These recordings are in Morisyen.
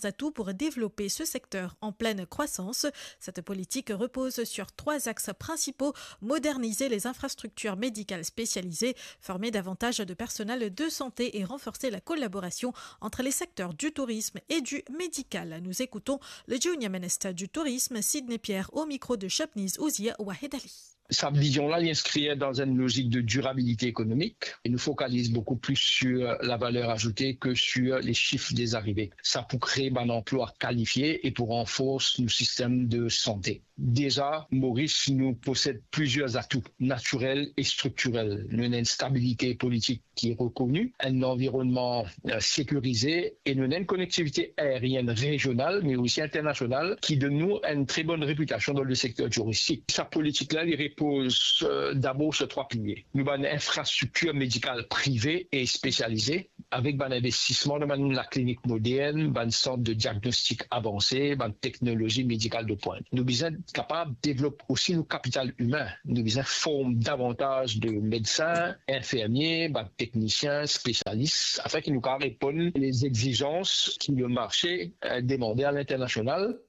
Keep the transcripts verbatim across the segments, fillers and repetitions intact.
atouts pour développer ce secteur en pleine croissance. Cette politique repose sur trois axes principaux : moderniser les infrastructures médicales spécialisées, former davantage de personnel de santé et renforcer la collaboration entre les secteurs du tourisme et du médical. Nous écoutons le Junior Minister du Tourisme, Sidney Pierre, au micro de Shopniz Ouzir Wahed Ali. Sa vizion la, li inskrir dan enn lozik de dirabilite ekonomik e nou fokaliz boukou plis sur la valer azoute ke sur le sif de zarive. Sa pou kree bann anplwa kalifie e pou ranfors nou sistem de sante. Deza, Moris nou posed plizier atou natirel e striktirel. Nou ena enn stabilite politik ki rekoni, enn lanvironnman, eh, sekirize e nou ena enn konektivite aerienn rezional, me osi internasional, ki donn nou enn tre bonn repitasion dan le sekter touristik. Sa politik la, li repoz, eh, dabor sur trwa pilie. Nou bann infrastriktir medikal prive e spesialize, avek bann investisman dan bann laklinik modern, bann sant de diagnostik avanse, bann teknolozi medikal de pwint. Nou bizin kapav devlop osi nou kapital imin. Nou bizin form davantaz de medsin, infirmie, bann teknisien, spesialis, afin ki nou kapav reponn les exizans ki le marse, eh, demande a l'internasional.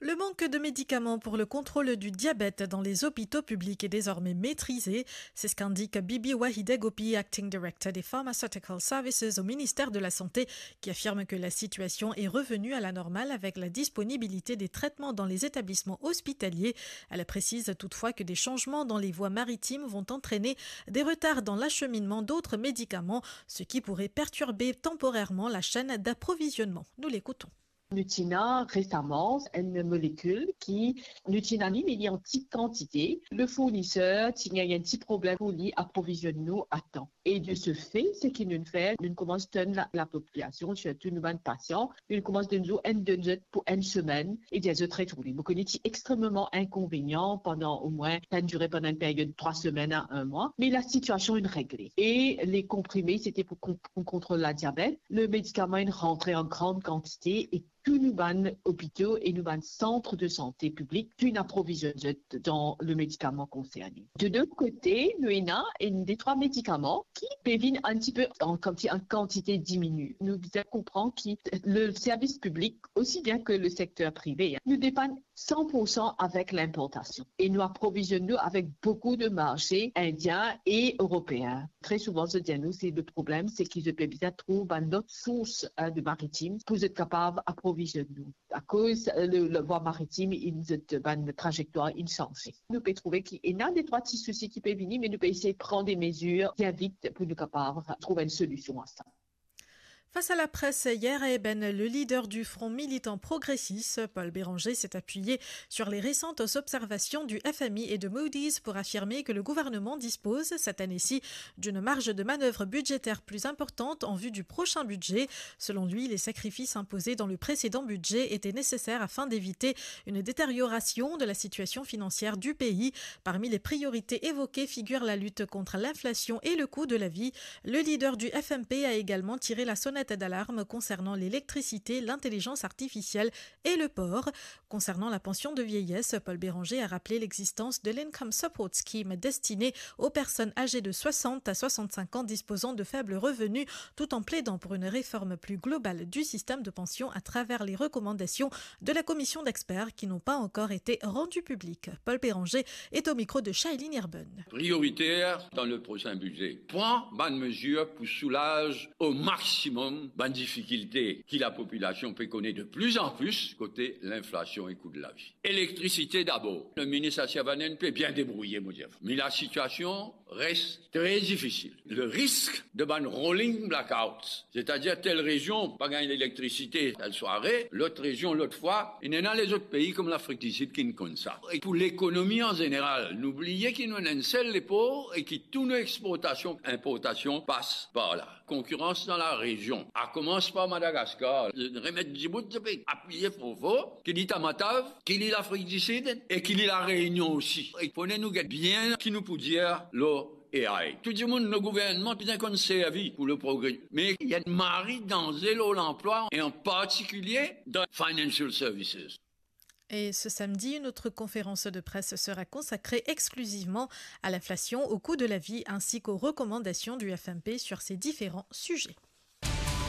Le manque de médicaments pour le contrôle du diabète dans les hôpitaux publics est désormais maîtrisé. C'est ce qu'indique Bibi Wahideh Gopi, Acting Director des Pharmaceutical Services au ministère de la Santé, qui affirme que la situation est revenue à la normale avec la disponibilité des traitements dans les établissements hospitaliers. Elle précise toutefois que des changements dans les voies maritimes vont entraîner des retards dans l'acheminement d'autres médicaments, ce qui pourrait perturber temporairement la chaîne d'approvisionnement. Nous l'écoutons. Nou ti ena resaman enn molekil ki nou ti ena li, me li an ti kantite. Le fourniser ti gagn enn ti problem pou li aprovizionn nou a tan. E de ce fait, seki nou fer, nou koumans tann la, lapopilasion, sirtou nou bann pasian, nou koumans donn zot enn, donn zot pou enn semenn, e dir zot retourne. Mo kone ti extrememan inkonvenian pandan omwin, sa inn dire pandan enn period trwa semenn a enn mwa, me lasitiasion inn regle. E le konprime, sete pou kon-, pou kontrol ladiabet. Le medikaman inn rantre an gran kantite e tou nou bann lopito e nou bann sant de sante piblik, tou inn aprovizionn zot dan le medikaman konserne. De lot kote, nou ena enn de trwa medikaman ki pe vinn enn tipe an, koumsi an kantite diminie. Nou bizin konpran ki le servis piblik, osi bien ke le sekter prive, nou depann san pour san avek linportasion. E nou aprovizionn nou avek boukou de marse indien e eropeen. Tre souvan, zot dir nou, se le problem, se ki zot pe bizin trouv bann lot sours, eh, de maritim pou zot kapav aprovizionn nou. Akoz, eh, le, le vwa maritim, inn, zot bann trazektwar inn sanze. Nou pe trouve ki ena de trwa ti sousi ki pe vini, me nou pe esey pran de mezir bien vit pou nou kapav trouv enn solision a sa. Face à la presse hier à Ébène, le leader du Front militant progressiste, Paul Bérenger, s'est appuyé sur les récentes observations du F M I et de Moody's pour affirmer que le gouvernement dispose, cette année-ci, d'une marge de manœuvre budgétaire plus importante en vue du prochain budget. Selon lui, les sacrifices imposés dans le précédent budget étaient nécessaires afin d'éviter une détérioration de la situation financière du pays. Parmi les priorités évoquées figure la lutte contre l'inflation et le coût de la vie. Le leader du F M P a également tiré la sonnette d'alarme concernant l'électricité, l'intelligence artificielle et le port. Concernant la pension de vieillesse, Paul Bérenger a rappelé l'existence de l'Income Support Scheme destinée aux personnes âgées de soixante à soixante-cinq ans disposant de faibles revenus, tout en plaidant pour une réforme plus globale du système de pension à travers les recommandations de la commission d'experts qui n'ont pas encore été rendues publiques. Paul Bérenger est au micro de Shailene Erben. Prioriter dan le prosin bidze, pran bann mezir pou soulaz o maximum bann difikilte ki lapopilasion pe kone de pli an pli kote linflasion e kou de lavi. Elektrisite dabor. Le minis Asiavanan pe bien debrouye, mo dir. Me lasitiasion res tre difisil. Le risk de bann rolling blackouts, setadir tel rezion pa gagn lelektrisite tel sware, lot rezion lot fwa, ena lezot pei kouma Lafrik di Sid ki'nn konn sa. E pou lekonomi an zeneral, nou bliye ki nou ena enn sel lepor e ki tou nou exportasion, inportasion pas par la. Konkirans dan larezion. A koumans par Madagaskar. Remet dibout, zot pe apiye for for, ki li Tamatav, ki li Lafrik di Sid, e ki li La Reynion osi. E fode nou get bien ki nou pou dir lor A I. Tou dimoun, nou gouvernman bizin konn servi pou le progre. Me ena mari danze lor lanplwa, e an partikilie dan financial services. Et ce samedi, une autre conférence de presse sera consacrée exclusivement à l'inflation, au coût de la vie ainsi qu'aux recommandations du F M P sur ces différents sujets.